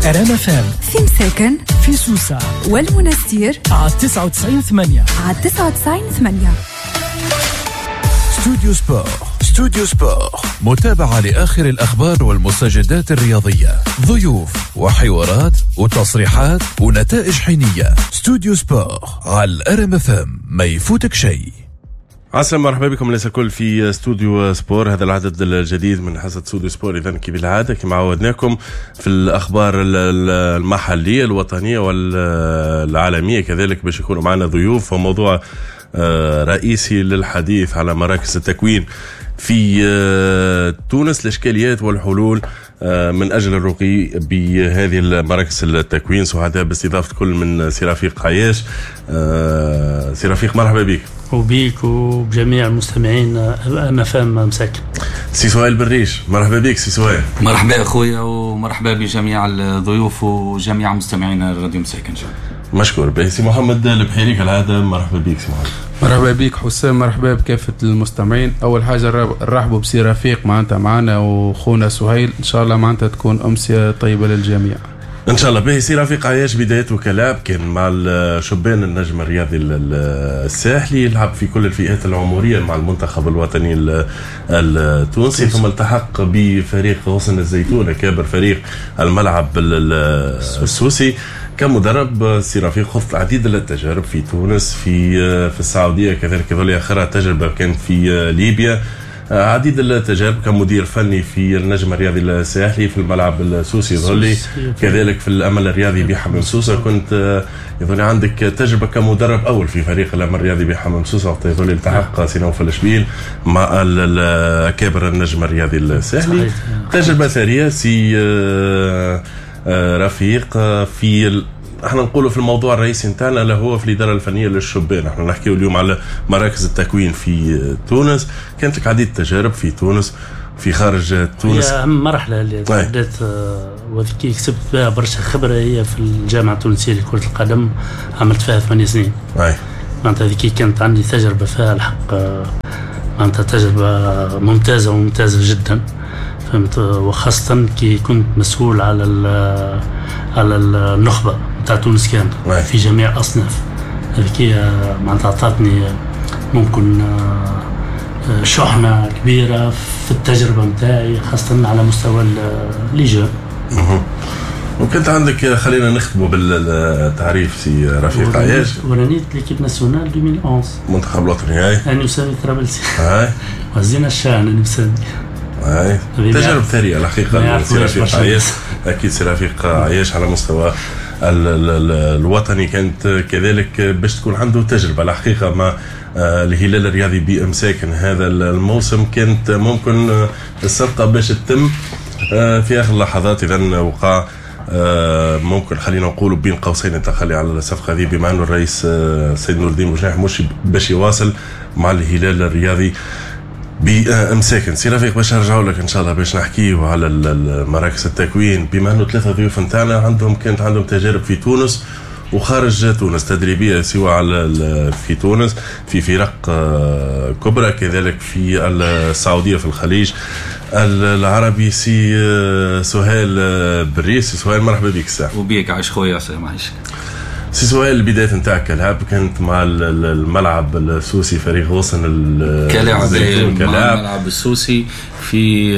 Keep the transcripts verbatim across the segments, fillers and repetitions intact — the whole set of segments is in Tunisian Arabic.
ار ام اف ام في مساكن، في سوسة والمنستير على تسعة وتسعين ثمانية، على تسعة وتسعين ثمانية. استوديو سبور، استوديو سبور، متابعة لآخر الأخبار والمستجدات الرياضية، ضيوف وحوارات وتصريحات ونتائج حينية. استوديو سبور على الار ام اف ام، ما يفوتك شيء. عسلامة، مرحبا بكم الناس الكل في استوديو سبور، هذا العدد الجديد من حصة استوديو سبور. إذا كيف العادة كما عودناكم في الأخبار المحلية الوطنية والعالمية، كذلك باش يكونوا معنا ضيوف وموضوع رئيسي للحديث على مراكز التكوين في تونس، الإشكاليات والحلول من أجل الرقي بهذه المراكز التكوين. سعداء باستضافة كل من سي رفيق عياش. سي رفيق مرحبا بك. وبيك وبجميع المستمعين ام اف ام مساكن. سي سهيل بالريش مرحبا بك سي سهيل. مرحبا اخويا ومرحبا بجميع الضيوف وجميع مستمعين الراديو مساكن. مشكور. باهي سي محمد البحيري كالعادة مرحبا بك سي محمد. مرحبا بك حسام، مرحبا بكافة المستمعين. أول حاجة نرحبوا بسي رفيق معناتها معنا وخونا سهيل، إن شاء الله معناتها تكون أمسية طيبة للجميع ان شاء الله. باهي سي رفيق عياش، بدايته كلاعب كان مع الشبان النجم الرياضي الساحلي، يلعب في كل الفئات العمرية مع المنتخب الوطني التونسي، ثم التحق بفريق غصن الزيتون كابر فريق الملعب السوسي. كمدرب سي رفيق خضت العديد من التجارب في تونس، في في السعودية، كذلك ظل اخرها تجربه كانت في ليبيا، عديد التجارب كمدير فني في النجم الرياضي الساحلي، في الملعب السوسي ظلي، كذلك في الامل الرياضي بحمام سوسة. كنت يظل عندك تجربه كمدرب اول في فريق الامل الرياضي بحمام سوسة وقت يظل التحق سي نوفل شبيل مع اكابر النجم الرياضي الساحلي. تجربه ثرية سي رفيق. في ال... احنا نقولوا في الموضوع الرئيسي نتاعنا اللي هو في الادارة الفنية للشبان، احنا نحكيو اليوم على مراكز التكوين في تونس. كانت لك عديد التجارب في تونس، في خارج تونس. هي اهم مرحلة اللي بدات وذكي كسبت بها برشا خبره هي في الجامعة التونسية لكرة القدم، عملت فيها ثمانية سنين. معناتها ذيك كانت عندي تجربه فيها الحق، معناتها تجربه ممتازة وممتازة جدا، فهمت. وخاصة كي كنت مسؤول على على النخبة نتاع تونس كامل في جميع الأصناف. هذيك معناتها عطاتني ممكن شحنة كبيرة في التجربة نتاعي، خاصة على مستوى les jeunes. وكنت عندك، خلينا نختموا بالتعريف سي رفيق عياش، ورانيت l'équipe nationale ألفين وأحد عشر المنتخب الوطني. هاي أنا وسامي طرابلسي. هاي وزينا الشان أنا وسامي. هاي تجارب ثرية الحقيقة سي رفيق عياش. أكيد سي رفيق عياش على مستوى ال ال الوطني كانت كذلك باش تكون عنده تجربة الحقيقة مع الهلال الرياضي بإمساكن هذا الموسم. كانت ممكن الصفقة باش تتم في آخر اللحظات، إذا وقع ممكن خلينا نقولوا بين قوسين التخلي على الصفقة هذه، بما أنه الرئيس السيد نور الدين بوجناح مش باش يواصل مع الهلال الرياضي بامساكن. سي رفيق باش نرجعوا لك ان شاء الله باش نحكيو على مراكز التكوين، بما انه ثلاثة ضيوف نتاعنا عندهم كانت عندهم تجارب في تونس وخارج تونس تدريبية، سواء على في تونس في فرق كبرى، كذلك في السعودية في الخليج العربي. سي سهيل بريس، سي سهيل مرحبا بك. الساعة وبيك عايش خويا سي معيش. سي سهيل، البداية نتاعك كلاعب كانت مع الملعب السوسي فريق غصن كلاعب مع الملعب السوسي، في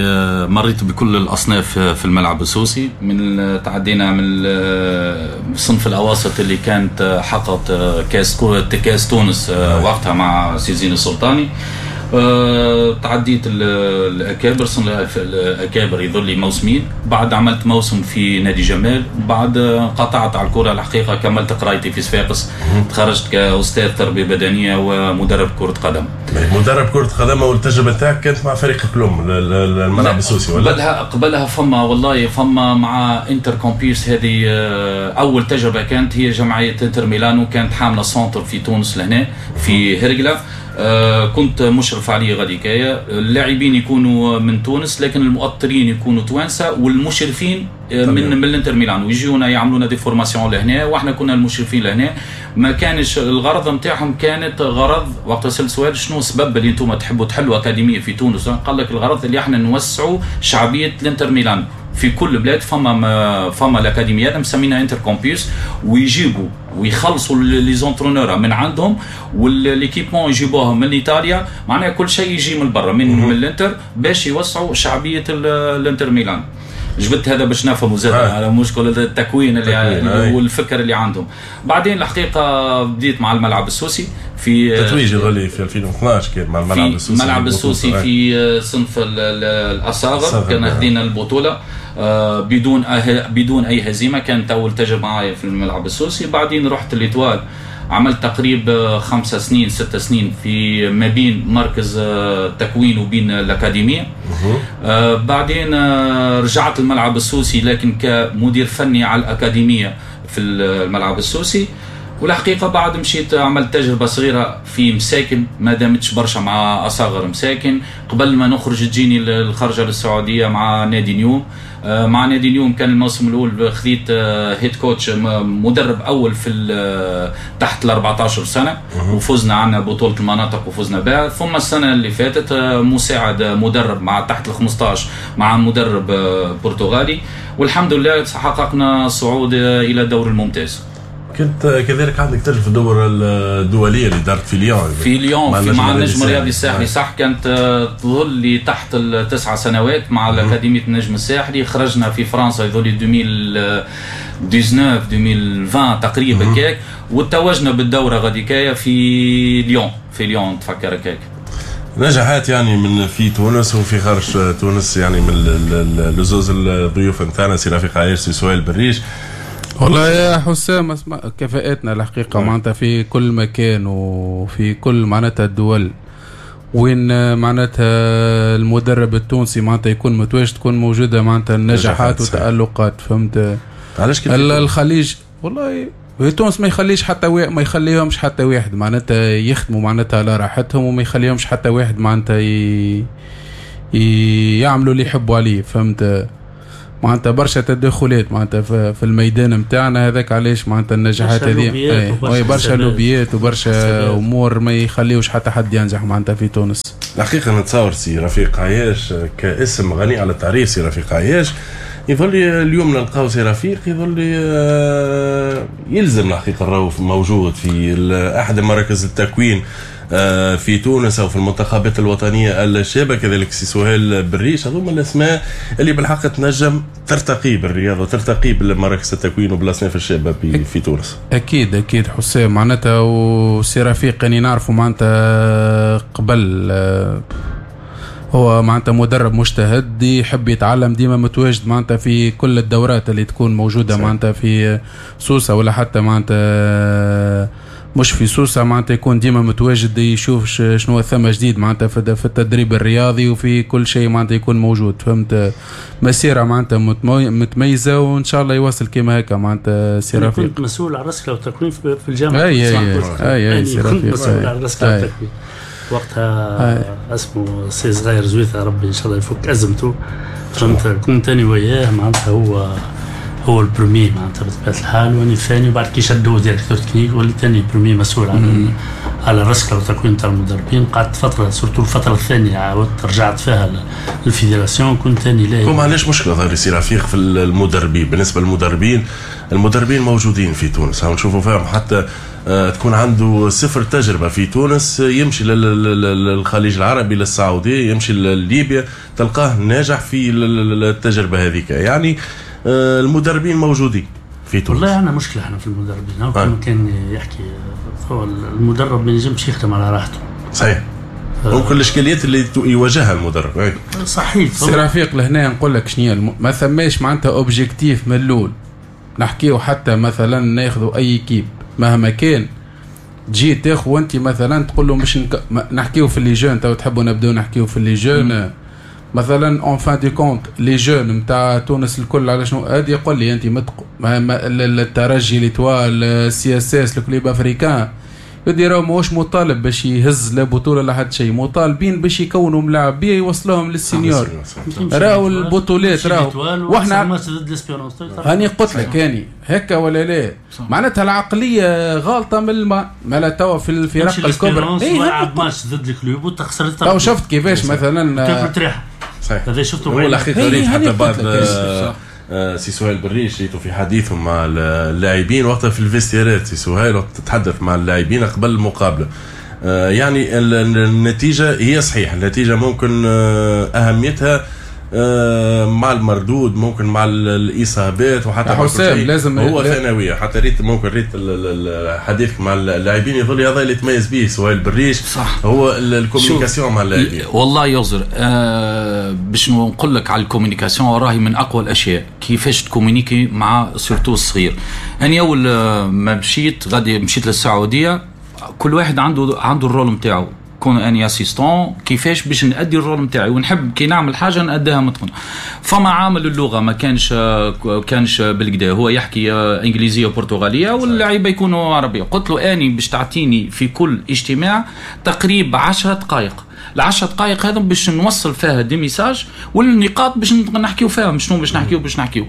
مريت بكل الأصناف في الملعب السوسي، من تعدينا من صنف الأواسط اللي كانت حققت كاس كاس تونس وقتها مع سي زين السلطاني، تعديت الأكابر، صنف الأكابر يظل لي موسمين، بعد عملت موسم في نادي جمال، بعد قطعت على الكرة الحقيقة، كملت قرايتي في صفاقس، تخرجت كأستاذ تربية بدنية ومدرب كرة قدم. مدرب كرة قدم، والتجربة تاعك كانت مع فريق بلوم الملعب السوسي ولا؟ قبلها قبلها فما والله فما مع انتر كومبيس، هذه أول تجربة كانت هي جمعية انتر ميلانو، كانت حاملة centre في تونس لهنا في هرقلة. آه كنت مشرف عليه غاديكايا. اللاعبين يكونوا من تونس لكن المؤطرين يكونوا توانسة، والمشرفين من من الانتر ميلان، ويجيونا يعملونا des formations لهنا، واحنا كنا المشرفين لهنا. ما كانش الغرض نتاعهم، كانت غرض وقت سأل سؤال شنو السبب اللي انتم تحبوا تحلوا اكاديمية في تونس، قال لك الغرض اللي احنا نوسعوا شعبية الانتر ميلان. في كل بلاد فما فما الاكاديميات مسمينها Inter Campus، ويجيبوا ويخلصوا les entraîneurs من عندهم و l'équipement يجيبوها من ايطاليا، معناها كل شيء يجي من برا من, من الانتر باش يوسعوا شعبية الانتر ميلان. جبت هذا باش نفهموا زاد على مشكل التكوين اللي والفكر اللي عندهم. بعدين الحقيقة بديت مع الملعب السوسي في تتويج غالي في ألفين واثناش كان مع الملعب السوسي، الملعب السوسي في صنف الاصاغر كان خدينا البطولة بدون أه بدون اي هزيمة، كانت اول تجربه معايا في الملعب السوسي. بعدين رحت l'Étoile، عملت تقريبا خمسة سنين ستة سنين في ما بين مركز تكوين وبين الأكاديمية. آه بعدين رجعت الملعب السوسي لكن كمدير فني على الأكاديمية في الملعب السوسي. والحقيقة بعد مشيت عملت تجربة صغيرة في مساكن، ما دامتش برشا مع أصاغر مساكن. قبل ما نخرج تجيني الخرجة للسعودية مع نادي نيوم. مع نادي نيوم كان الموسم الأول خذيت head coach مدرب أول في تحت ال أربعة عشر سنة، وفزنا عنا بطولة المناطق وفزنا بها. ثم السنة اللي فاتت مساعد مدرب مع تحت ال خمسة عشر مع مدرب برتغالي، والحمد لله حققنا الصعود إلى الدور الممتاز. كنت كذلك عندك تجربه في الدورة الدولية اللي دارت في ليون، في ليون في مع النجم الرياضي الساحلي، صح. كانت تظل لي تحت التسع سنوات مع الاكاديمية النجم الساحلي. خرجنا في فرنسا يظل لي ألفين وتسعة عشر ألفين وعشرين تقريبا كاك، وتوجنا بالدوره غاديكايا في ليون، في ليون تفكر كاك. نجاحات يعني من في تونس وفي خارج تونس، يعني من لزوز الضيوف نتاعنا سي رفيق عايش سي سهيل بالريش. والله يا حسام اسمع، كفاءتنا الحقيقة معناتها في كل مكان وفي كل معناتها الدول وين معناتها المدرب التونسي معناتها يكون متواجد تكون موجودة معناتها النجاحات والتألقات، فهمت؟ علاش الخليج والله تونس ما يخليش حتى واحد، ما يخليهمش حتى واحد معناتها يخدموا معناتها على راحتهم، وما يخليهمش حتى واحد معناتها ي... يعملوا اللي يحبوا عليه، فهمت؟ معناتها برشا تدخلات معناتها في الميدان نتاعنا، هذاك علاش معناتها النجاحات هذه برشا لوبيات وبرشا امور ما يخليوش حتى حد ينجح معناتها في تونس. الحقيقة نتصور سي رفيق عياش كاسم غني على التعريف، سي رفيق عياش يظل اليوم نلقاو سي رفيق يظل يلزم الحقيقة الروف موجود في احد مراكز التكوين في تونس او في المنتخبات الوطنية الشابة، كذلك سي سهيل بالريش. هذوما الاسماء اللي بالحق تنجم ترتقي بالرياضة وترتقي بالمراكز التكوين وبالاصناف الشابة في تونس. اكيد اكيد حسام معناتها، وسي رفيق يعني نعرفه معناتها قبل هو معناتها مدرب مجتهد يحب يتعلم، ديما متواجد معناتها في كل الدورات اللي تكون موجودة معناتها في سوسة ولا حتى معناتها مش في سوسة، معناتها يكون ديما متواجد يشوف شنو ثم جديد معناتها في التدريب الرياضي وفي كل شيء معناتها يكون موجود، فهمت؟ مسيره معناتها متميزة وان شاء الله يواصل كيما هكا معناتها سي رفيق. كنت مسؤول على الرسكله والتكوين في الجامعة. اي اي اي اي سي رفيق مسؤول على الرسكله والتكوين وقتها، اسمه سي صغير زويثة، ربي ان شاء الله يفك ازمته، فهمت؟ كنت انا وياه معناتها هو هو ال premier معناتها بطبيعة الحال، واني الثاني، وبعد كي شدوه directeur technique وليت ثاني premier مسؤول على على الرسكله والتكوين تاع المدربين. قعدت فترة surtout الفترة الثانية عاودت رجعت فيها لل fédération، كنت ثاني لا. هم علاش مشكلة ظهر سي رفيق في المدربين؟ بالنسبة للمدربين، المدربين موجودين في تونس، هم نشوفوا فيهم حتى تكون عنده صفر تجربه في تونس يمشي للخليج العربي، للسعودية، يمشي لليبيا، تلقاه ناجح في التجربة هذيك. يعني المدربين موجودين في تونس. والله عندنا مشكلة احنا في المدربين. هو كان كان يحكي هو المدرب ما ينجمش يخدم على راحته. صحيح. ممكن الاشكاليات اللي يواجهها المدرب. صحيح. سي رفيق لهنا نقول لك شنو الم... ما ثماش معناتها objectif من الاول. نحكيو حتى مثلا ناخذوا اي équipe مهما كان تجي تاخذ وانت مثلا تقول له مش نك... نحكيو في les jeunes، تو تحبوا نبداو نحكيو في les jeunes مثلا en fin de compte les jeunes نتاع تونس الكل على شنو هادي يقول لي انت متق... الترجي، l'Étoile، CSS، ال Club Africain، يدي راهو ماهوش مطالب باش يهز لا بطوله لا حد شيء، مطالبين باش يكونوا ملاعبيه يوصلوهم لل seniors. راهو البطولات راهو واحنا هاني قلت لك هاني هكا ولا لا، معناتها العقلية غالطه من الماء ما لا توا في الفرق الكبرى. اي لعب ماتش ضد ال Club وتخسر. تو شفت كيفاش مثلا صحيح. هذا شفته هو الحقيقة ريت حتى بعد سي سهيل بالريش ريتو في حديثه مع اللاعبين وقتها في ال vestiaire ات، سي سهيل وقت تتحدث مع اللاعبين قبل المقابلة، يعني النتيجة هي صحيح النتيجة ممكن اهميتها مع المردود، ممكن مع الاصابات وحتى حسام لازم هو ثانوية. حتى ريت ممكن ريت حديثك مع اللاعبين يظل هذا اللي تميز به سهيل بالريش، صح. هو ال communication مع اللاعبين. والله يزر آه باش نقول لك على ال communication راهي من اقوى الاشياء، كيفاش ت communiquer مع surtout الصغير. انا اول ما مشيت غادي مشيت للسعودية، كل واحد عنده عنده ال rôle نتاعو، كون اني assistant كيفاش باش نادي ال rôle نتاعي، ونحب كي نعمل حاجة ناديها متقنة. فما عامل اللغة ما كانش كانش بالكدا، هو يحكي انجليزية وبرتغاليه واللعيبة يكونوا عربية. قلت له اني باش تعطيني في كل اجتماع تقريبا عشرة دقائق، العشرة دقائق هذا باش نوصل فيها des messages والنقاط باش نحكيو فيها، شنو باش نحكيو باش نحكيو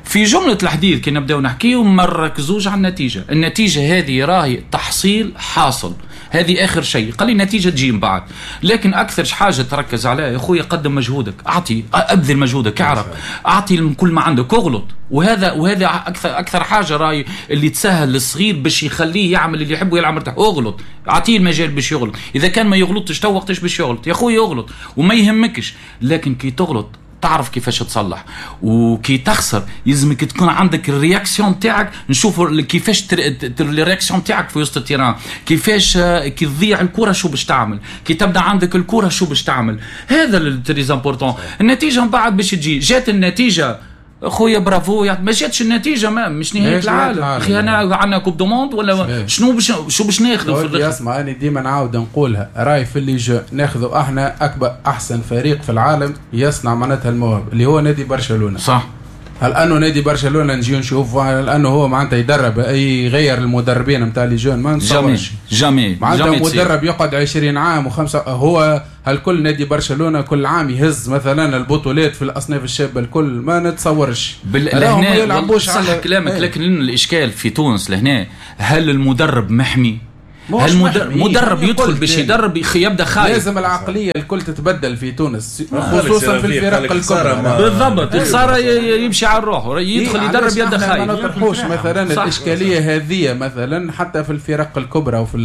في جملة الحديث. كي نبداو نحكيو ما نركزوش على النتيجة، النتيجة هذه راهي تحصيل حاصل، هذه اخر شيء، قال لي النتيجة تجي من بعد. لكن اكثر حاجة تركز عليها يا خويا قدم مجهودك، اعطي ابذل مجهودك، اعرف اعطي كل ما عندك، اغلط. وهذا وهذا اكثر اكثر حاجة راي اللي تسهل للصغير باش يخليه يعمل اللي يحبه ويلعب مرتاح. اغلط، اعطيه المجال باش يغلط. اذا كان ما يغلطش تو وقتاش باش يغلط يا خويا؟ يغلط وما يهمكش، لكن كي تغلط تعرف كيفاش تصلح، وكي تخسر يلزمك تكون عندك ال réaction تاعك. نشوفوا كيفاش ال réaction تاعك في وسط ال terrain، كيفاش كي تضيع الكره شو باش تعمل، كي تبدا عندك الكره شو باش تعمل. هذا ال très important. النتيجة من بعد باش تجي، جات النتيجة خويا برافو، يعني ما جاتش النتيجة ما مش نهاية العالم. اخي انا عندنا coupe du monde ولا شنو باش شو باش ناخذوا في الاخر؟ اسمع انا ديما نعاود نقولها، راي في اللي جو ناخذوا احنا اكبر احسن فريق في العالم يصنع معناتها المواهب اللي هو نادي برشلونة، صح. هل انه نادي برشلونة نجي نشوف هل انه هو معناتها يدرب اي يغير المدربين نتاع les jeunes؟ ما نتصورش jamais معناتها مدرب يقعد عشرين عام وخمسة. هو هل كل نادي برشلونة كل عام يهز مثلا البطولات في الاصناف الشابة الكل؟ ما نتصورش. بال... صح على... كلامك ايه. لكن الاشكال في تونس لهنا، هل المدرب محمي؟ هل المدرب مدرب يدخل باش يدرب يبدا خايف؟ لازم العقلية الكل تتبدل في تونس، خصوصا في الفرق الكبرى. بالضبط، الخسارة يمشي على الروح، يدخل يدرب يبدا خايف. ما نطرحوش مثلا الاشكالية هذه مثلا حتى في الفرق الكبرى وفي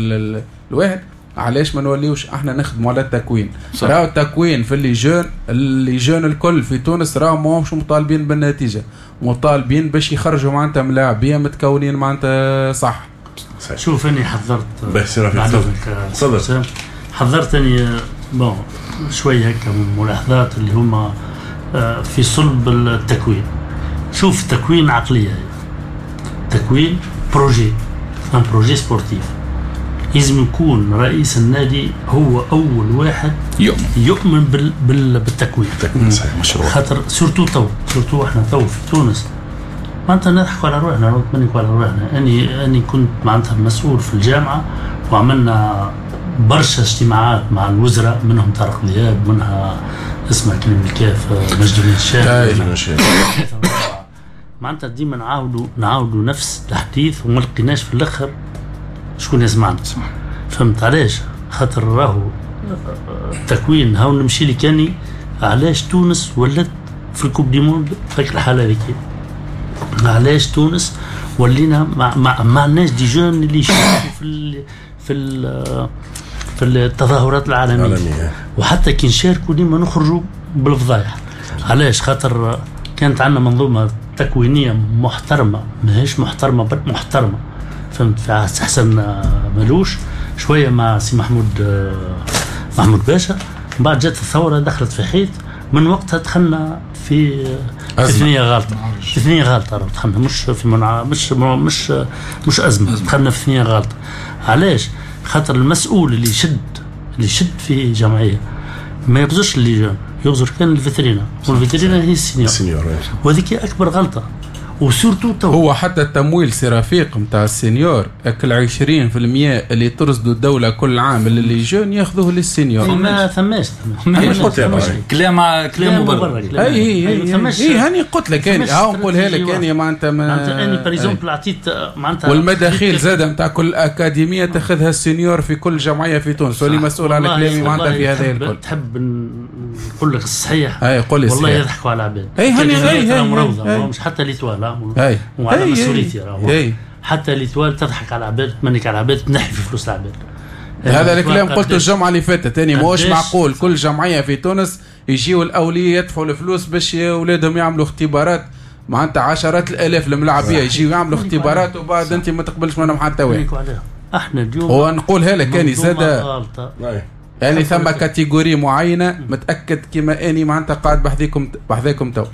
الواحد. علاش ما نوليوش احنا نخدموا على التكوين؟ راهو التكوين في les jeunes، les jeunes الكل في تونس راهو ماهمش مطالبين بالنتيجة، مطالبين باش يخرجوا معناتها ملاعبيه متكونين معناتها صح. شوف اني حضرت حضرت اني bon شوية هكا ملاحظات اللي هما في صلب التكوين. شوف تكوين عقلية، تكوين projet، un projet sportif. لازم يكون رئيس النادي هو اول واحد يؤمن يؤمن بال بال بالتكوين. التكوين صحيح مشروع، خاطر surtout تو surtout احنا تو في تونس معناتها نضحكوا على روحنا، نتمنكوا على روحنا. اني اني كنت معناتها مسؤول في الجامعة وعملنا برشا اجتماعات مع الوزراء، منهم طارق ذياب، منها اسمه كريم الكاف، مجدي الشاف. معناتها ديما نعاودوا نعاودوا نفس الحديث وما لقيناش في الاخر شكون يسمعنا. فهمت علاش؟ خاطر راهو التكوين هاو نمشي لي كاني علاش تونس ولات في ال coupe du monde في الحالة هذيك؟ علاش تونس ولينا ما ما, ما عندناش des jeunes اللي يشاركوا في ال في ال في التظاهرات العالمية، العالمية. وحتى كي نشاركوا ديما نخرجوا بالفضايح. علاش؟ خاطر كانت عندنا منظومة تكوينيه محترمه، ماهيش محترمه بل محترمه. فهمت؟ في حسن مالوش شوية مع سي محمود محمود باشا، من بعد جات الثورة دخلت في حيط، من وقتها دخلنا في في ثنيه غلطه، في ثنيه غلطه دخلنا، مش في منع... مش مش مش ازمة، دخلنا في ثنيه غلطه. علاش؟ خاطر المسؤول اللي يشد اللي يشد في جمعية ما يغزرش les jeunes، يغزر كان الفيترينا، والفيترينا هي ال senior، وهذيك اكبر غلطه. و surtout تو هو حتى التمويل سي رفيق نتاع ال senior اكل عشرين بالمية اللي ترصدوا الدولة كل عام اللي jeunes ياخذوه لل senior. ما ثماش كلام كلام مبرر. اي اي اي هاني قلت لك اني ها نقولها لك اني معناتها معناتها اني par exemple عطيت معناتها والمداخيل زاده نتاع كل اكاديمية تاخذها ال senior في كل جمعية في تونس، واللي مسؤول على كلامي معناتها في هذا الكل. تحب نقول لك الصحيح؟ اي قول لي والله يضحكوا على العباد. اي هاني اي مش حتى l'Étoile وعلى مسؤوليتي راهو حتى l'Étoile تضحك على العباد، تمنك على العباد، تنحي في فلوس العباد. هذا الكلام قلته الجمعة اللي فاتت ثاني، ماهوش معقول كل جمعية في تونس يجيو الاولياء يدفعوا الفلوس باش اولادهم يعملوا اختبارات، معناتها عشرات الالاف الملاعبيه يجيو يعملوا اختبارات وبعد انت ما تقبلش منهم حتى واحد. احنا اليوم هو نقولها لك اني زاد يعني ثم catégorie معينة متاكد كما اني معناتها قاعد بحذيكم بحذاكم تو،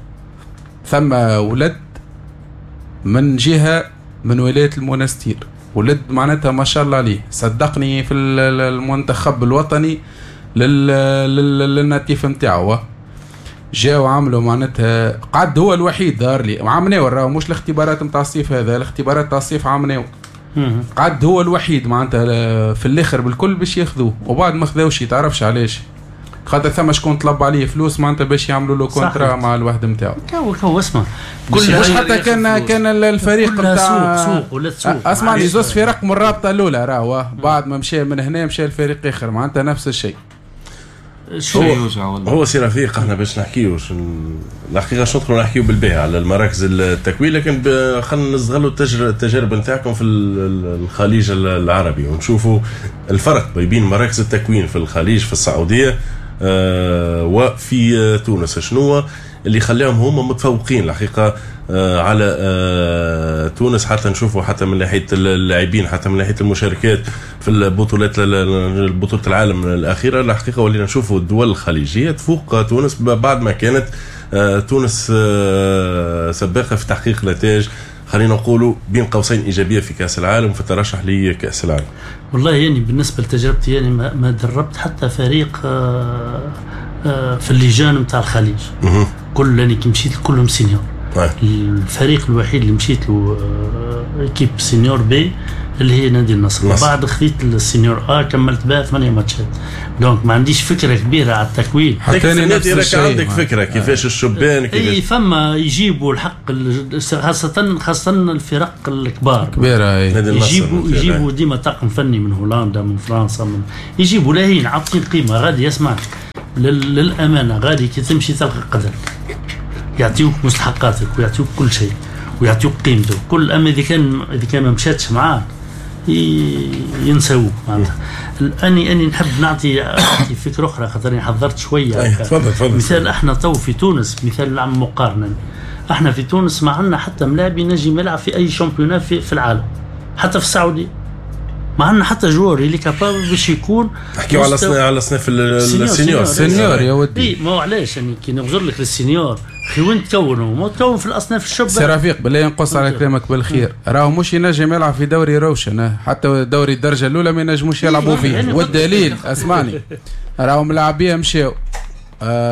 ثم ولد من جهة من ولاية المونستير، ولد معناتها ما شاء الله عليه صدقني في المنتخب الوطني لل natif نتاعو، جاو عملوا معناتها قعد هو الوحيد ظهر لي عملناه راهو مش الاختبارات نتاع الصيف هذا، الاختبارات نتاع الصيف عملناه قعد هو الوحيد معناتها في الاخر بالكل باش ياخذوه، وبعد ما خذاوش تعرفش علاش، خاطر ثم شكون طلب عليه فلوس معناتها باش يعملوا له contrat مع الواحد نتاعو. كو كو اسمع كل مش حتى كان كان الفريق نتاع سوق سوق ولا سوق. اسمعني زوز فرق من الرابطة الاولى راهو بعد ما مشى من هنا مشى الفريق اخر معناتها نفس الشيء. هو, هو سي رفيق احنا باش نحكيو الحقيقة شو ندخلوا نحكيو بالباهي على المراكز التكوين، لكن خلينا نستغلوا التجارب نتاعكم في الخليج العربي ونشوفوا الفرق بين مراكز التكوين في الخليج في السعودية وفي تونس، شنو اللي خلاهم هما متفوقين الحقيقة على تونس، حتى نشوفوا حتى من ناحية اللاعبين حتى من ناحية المشاركات في البطولات بطوله العالم الاخيرة. الحقيقة ولينا نشوفوا الدول الخليجية تفوق تونس بعد ما كانت تونس سباقه في تحقيق نتائج خلينا نقولوا بين قوسين ايجابية في كاس العالم وفي الترشح لكاس العالم. والله يعني بالنسبة لتجربتي يعني ما دربت حتى فريق في اللجان نتاع الخليج. كل يعني كي مشيت كلهم senior. الفريق الوحيد اللي مشيت له équipe senior B اللي هي نادي النصر. بعد خذيت ال senior A كملت بها ثمانية ماتشات، donc ما عنديش فكرة كبيرة على التكوين. حتى النادي راك عندك فكرة كيفاش الشبان كيفاش اي فما يجيبوا الحق خاصة خاصة الفرق الكبار كبيرة يجيبوا يجيبوا ديما طاقم فني من هولندا من فرنسا من يجيبوا لاهين عاطين قيمة غادي. يسمع للامانة غادي كي تمشي تلقى قدرك، يعطيوك مستحقاتك ويعطيوك كل شيء ويعطيوك قيمته كل. اما اذا كان اذا كان ما مشاتش معاك ينسوك معناتها. اني اني نحب نعطي نعطي فكرة اخرى خاطر حضرت شوية. تفضل تفضل. مثال احنا تو في تونس مثال نعمل مقارنة، احنا في تونس ما عندنا حتى ملاعب ينجم يلعب في اي championnat في, في العالم، حتى في السعودية ما عندنا حتى joueur اللي capable باش يكون. نحكيو على صناف على صناف ال senior senior يا ودي. اي ما هو علاش يعني كي نغزر لك لل senior خي وين تكونوا ما تكون في الاصناف الشباب. سي رفيق بالله ينقص على كلامك بالخير، راهو مش ينجم يلعب في دوري روشن، حتى دوري الدرجة الاولى ما ينجموش يلعبوا فيه. والدليل اسمعني راهو ملاعبيه مشاو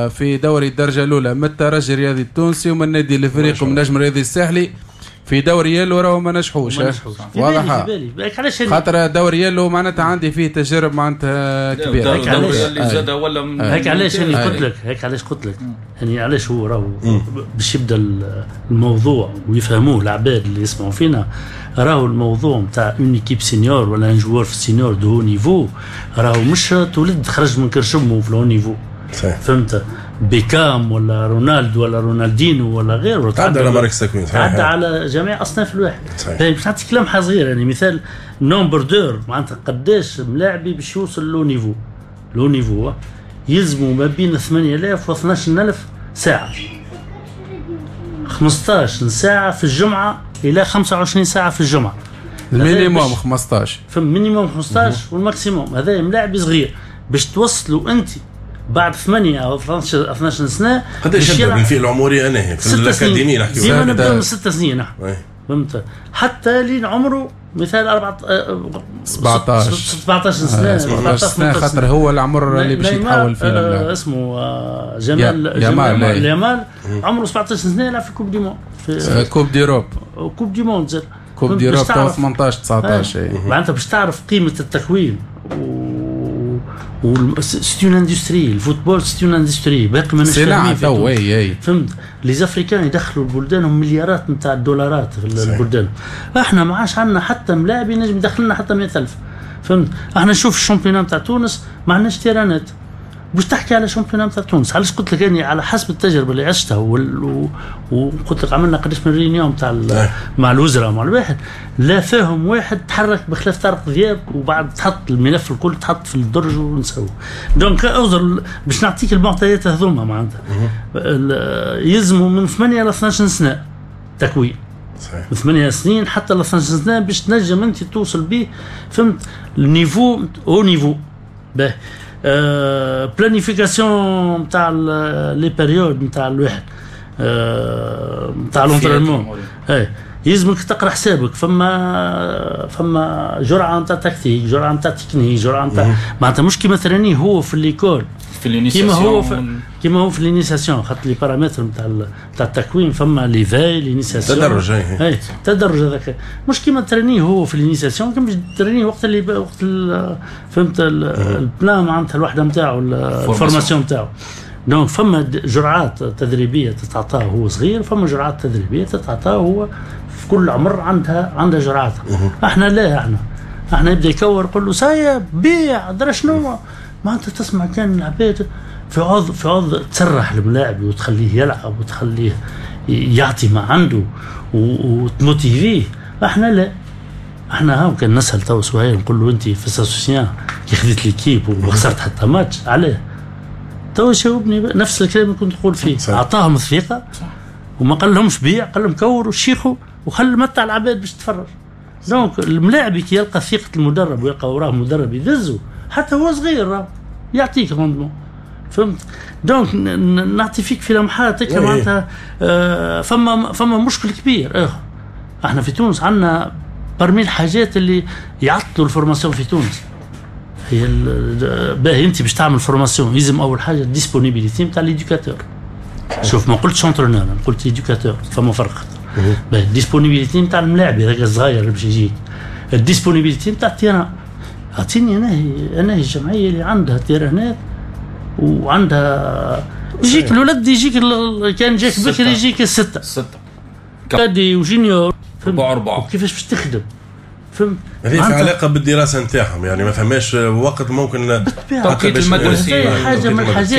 في دوري الدرجة الاولى من الترجي الرياضي التونسي ومن النادي الافريقي ومن النجم الرياضي الساحلي في دوري يلو راهو ما نجحوش. واضح خاطر دوري يلو معناتها عندي فيه تجارب معناتها كبيرة. هيك علاش اللي زاد ولا هيك علاش انا قلت لك هيك علاش قلت لك يعني علاش هو راهو باش يبدا الموضوع ويفهموه العباد اللي يسمعوا فينا. راهو الموضوع نتاع une équipe senior ولا un joueur في ال senior de haut niveau راهو مش تولد خرج من كرشمه في le niveau. فهمت؟ بيكام ولا رونالدو ولا رونالدينو ولا غيره تعدى على مراكز التكوين، تعدى على جميع اصناف الواحد. باش نعطيك لمحه صغيرة يعني مثال nombre d'heures معناتها قداش ملاعبي باش يوصل le niveau le niveau يلزموا ما بين ثمانية آلاف و اثناش ألف ساعة، خمسطاش ساعة في الجمعة الى خمسة وعشرين ساعة في الجمعة. ال minimum خمسطاش، في ال minimum خمسطاش وال maximum. هذا ملاعبي صغير باش توصلوا انت بعد ثمانية أو اثناش سنة. قداش يبدا من فيه العمري أنا في الأكاديمية نحكي ديما نبداو من ست سنين نحن. فهمت؟ حتى لين عمره مثال أربعة سبعطاش سبعطاش سنة سبعطاش سنة، خاطر هو العمر اللي باش يتحول فيه آه اسمه آه جمال جمال يامال عمره سبعطاش سنة يلعب في coupe du monde، في coupe d'Europe، coupe du monde زاد coupe d'Europe تو ثمنطاش تسعطاش. معناتها باش تعرف قيمة التكوين و c'est une industrie، ال football c'est une industrie باقي ماناش فاهمين تو. اي فهمت، les Africains يدخلوا البلدان مليارات نتاع الدولارات في البلدان، احنا ما عادش عندنا حتى ملاعب ينجم يدخل لنا حتى مية ألف. فهمت، احنا نشوف ال championnat نتاع تونس ما عندناش تيرانات باش تحكي على championnat نتاع تونس. علاش قلت لك اني على حسب التجربة اللي عشتها وال... وقلت لك عملنا قداش من réunion تاع مع الوزراء مع الواحد لا فاهم واحد تحرك بخلاف طارق ذياب، وبعد تحط الملف الكل تحط في الدرج ونسوه. donc اوزر باش نعطيك المعطيات هذوما معناتها يلزموا من ثمانية ل اثناش سنة تكوين. صحيح. من ثمانية سنين حتى ل اثناش سنة باش تنجم انت توصل به، فهمت، ال niveau haut niveau باه planification نتاع les périodes نتاع الواحد نتاع l'entraînement. اي يلزمك تقرا حسابك، فما فما جرعة نتاع تكتيك، جرعة نتاع تكنيك، جرعة نتاع معناتها مش كيما تراني هو في l'école في كيما هو في كيما هو في l'initiation، خاطر les paramètres نتاع نتاع التكوين فما l'éveil l'initiation تدرج. اي تدرج هذاك مش كيما ترانيه هو في l'initiation، كيما ترانيه وقت اللي وقت فهمت ال plan معناتها الوحدة نتاعو ال formation نتاعو. donc فما جرعات تدريبية تتعطاه هو صغير، فما جرعات تدريبية تتعطاه هو في كل عمر عندها عندها جرعات. احنا لا، احنا احنا يبدا يكور يقول له سايب بيع درا شنو، معناتها تسمع كان العباد في عوض في عوض تسرح الملاعب وتخليه يلعب وتخليه يعطي ما عنده وتموتيفيه. احنا لا، احنا هاو كان نسال تو سهيل نقول له انت في السوسيان كي خذيت l'équipe وخسرت حتى ماتش علاه؟ تو جاوبني نفس الكلام اللي كنت تقول فيه. اعطاهم الثقة وما قال لهمش بيع، قال لهم كوروا شيخوا وخلوا متع العباد باش تتفرج. donc الملاعب كي يلقى ثقة المدرب ويلقى وراه مدرب يدزه حتى هو صغير يعطيك rendement. فهمت؟ donc نعطي فيك في لمحات معناتها آه فما فما مشكل كبير اخر. احنا في تونس عندنا parmi الحاجات اللي يعطلوا ال formation في تونس هي باهي انت باش تعمل formation يلزم اول حاجة ال disponibilité نتاع l'éducateur. شوف ما قلتش entraîneur، قلت éducateur، فما فرق. باهي ال disponibilité نتاع الملاعب هذاك الصغير اللي باش يجيك، ال disponibilité نتاع ال terrain. اعطيني انا هي انا هي الجمعية اللي عندها تيرانات وعندها يجيك الولد يجيك كان جاك بكري يجيك الستة ستة cadets و juniors أربعة أربعة. كيفاش باش تخدم؟ فهمت؟ هذه في علاقة بالدراسة نتاعهم، يعني ما فماش وقت ممكن توقيت المدرسي حاجة من الحاجات.